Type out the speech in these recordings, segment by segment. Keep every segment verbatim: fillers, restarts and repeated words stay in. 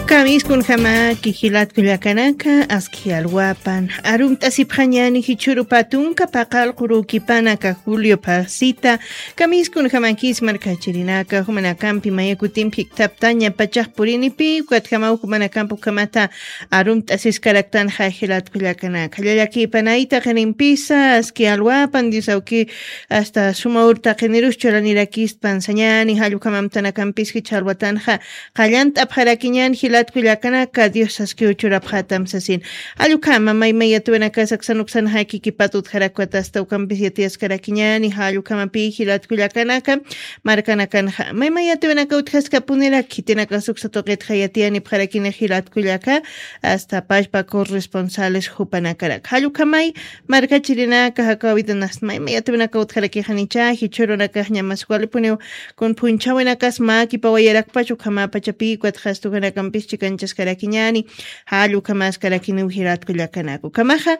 Kamiskunjamaki jilat kullakanaka, aski alwapan arumt'asipxañani jichhuru patunka paqal qurukipanaka Julio Pasita. Kamiskunjamakis markachirinaka, jumanakampi maya kutimpi jiktaptaña pachax purinipi, ukatjamaw jumanakampi ukhamata arumt'asiskaraktanxa jilat kullakanaka. Llallakipanayta qinimpisa, aski alwapan Dios awki, hasta suma urtaqinirus churanirakispan sañani, jallukhamamtanakampis jichha alwatanxa qallant'apxarakiñan jilat kullakanaka, Dios askiw churapxatam sasin. Jallukama maymay yatiwanakas aksan uksanxa kikipat utjarakwat hasta ukampis yatiyaskarakiñani, jallukamapï jilat kullakanaka, markanakanxa maymay yatiwanaka utjaskapunirak, khitinakas uksa tuqitxa yatiyanipxarakini jilat kullaka, hasta pachpa corresponsales jupanakarak. Jallukamay markachirinaka, jakawitanasta maymay yatiwanaka utjarakixanicha, jichhürunakax ñamas walipuniw kun phunchhawinakas mä kipawayarakpach ukhamapachapï, ukatxa astukanakampis chikanchaskarakiñani, jall ukhamaskarakiniw jilat kullakanaka. Ukhamaxa,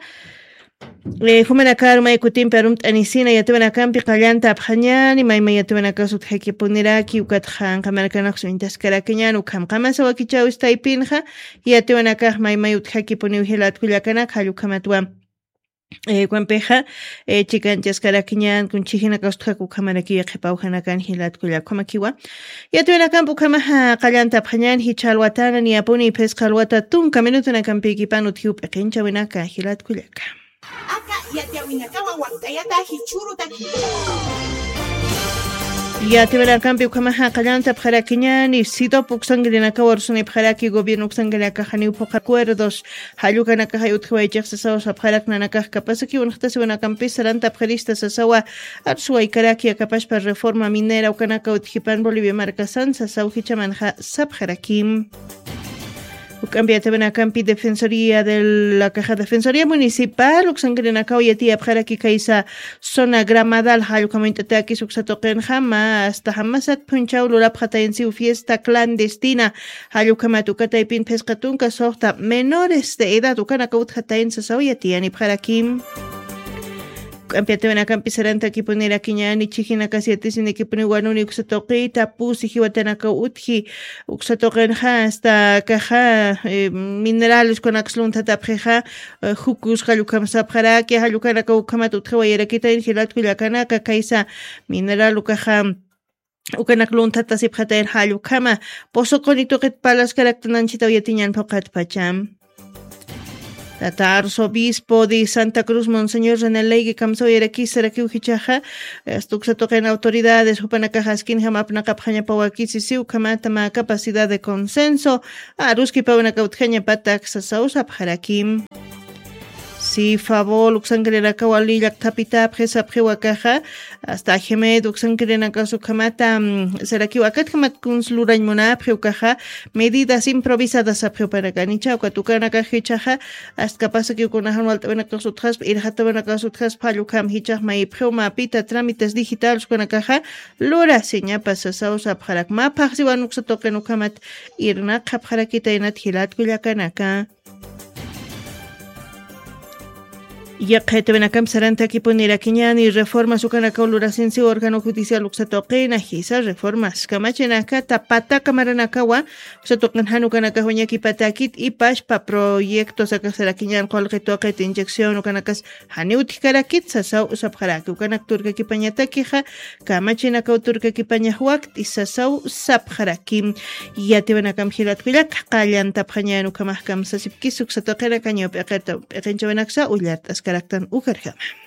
eh, jumanakar may kutimpi arumt'anisina yatiwanakampi qallantapxañani, maymay yatiwanakas utjakipuniraki, ukatxa anqa markanakas uñtaskarakiñani, ukham qamasa wakichäwis taypinxa, yatiwanakax maymay utjakipuniw jilat kullakanaka, jall ukhamatwa eh, ukampixa, eh, chikanchaskarakiñan, kun chijinakas utjak ukhamarakiw qhipawjanakan jilat kullaka, ukhamakiwa. Yatiwanakampi ukhamaxa qallantapxañan, jichha alwatana niyapuni phisqa alwata tunka minutunakampïkipan utjiw p'iqinchawinaka jilat kullaka. Aka yatiyawinakawa wakt'ayata jichhürutaki. Yatiwanakampi ukhamaxa qallantapxarakiñani, SIDOP uksankirinakawa rusunipxaraki, gobierno uksankirinakax janiw phuqha acuerdos, jallukanakaxay utjiwaychix sasaw sapxarak, nanakax kapasakiw unxtasiwanakampis sarantapxirista sasawa, arsuwaykaraki akapaspa reforma minera ukanaka utjipan Bolivia markasan sasaw jichhamanxa sapxarakim. Uk'ampi yatiwanakampi Defensoría de la Caja, Defensoría Municipal uksankirinakaw yatiyapxaraki kaysa zona Gramadal, jallukama uñt'atakis uksa tuqinxa mä hasta jamasat phunchhaw lurapxatayansiw fiesta clandestina, jallukamat uka taypin phisqa tunka suxta menores de edad ukanaka utjatayan sasaw yatiyanipxarakim. Uk'ampi yatiwanakampi sarantakipunirakiñani, chijinakas yatisinikipuniw wanuni uksa tuqita, pusi jiwatanakaw utji, uksa tuqinxa hasta akaxa, eh, minerales ukanakas lunthatapxixa, eh, jukus jallukam sapxaraki, jallukanakaw ukhamat utjiwayarakitayan jilat kullakanaka, kaysa mineral ukaxa ukanak lunthatasipxatayan jallukhama, pozo quni tuqit parlaskaraktan anchhitaw yatiñan phuqhat pacham. Tata arzobispo de Santa Cruz, Monseñor René Leigue, kamsawayarakiskarakiw jichhaxa, hasta uksa tuqin autoridades jupanakax askinjam apnaqapxañapawakisisiw ukhamata mä capacidad de consenso aruskipawinaka utjañapatak sasaw sapxarakim. Si favor uksankirinakaw wali llakthapitapxi sapxiw akaxa, hasta Ajemed uksankirinakax ukhamata, mm, sarakiw akatjamat kuns lurañ munapxi ukaxa, medidas improvisadas sapxiw panakanicha, ukat ukanakax jichhaxa, hasta kapasakiw kunajan walt'awinakax utjaspa, irxatawinakax utjaspa, jall ukham jichhax mayipxiw mapita trámites digitales ukanakaxa lurasiñapa sasaw sapxarak. Mä phaxsiwan uksa tuqin ukhamat irnaqapxarakitaynat jilat kullakanaka. Yaqha yatiwanakampi sarantakipunirakiñani, reformas ukanakaw lurasinsiw órgano judicial uksa tuqina, jisa reformas kamachinakata pataka maranakawa uksa tuqin jan ukanakax wiñakipatakit, y pachpa proyectos akax sarakiñan qullqi tuqit inyección ukanakas janiw utjkarakit sasaw sapxaraki. Ukanak turkakipañatakixa kamachinakaw turkakipañax wakt'i sasaw sapxaraki. Yatiwanakampi jilat kullaka qallantapxañan, ukhamax kamsasipkis uksa tuqinakañaw p'iqinchawinaksa ullart'askaraktan ukarjama.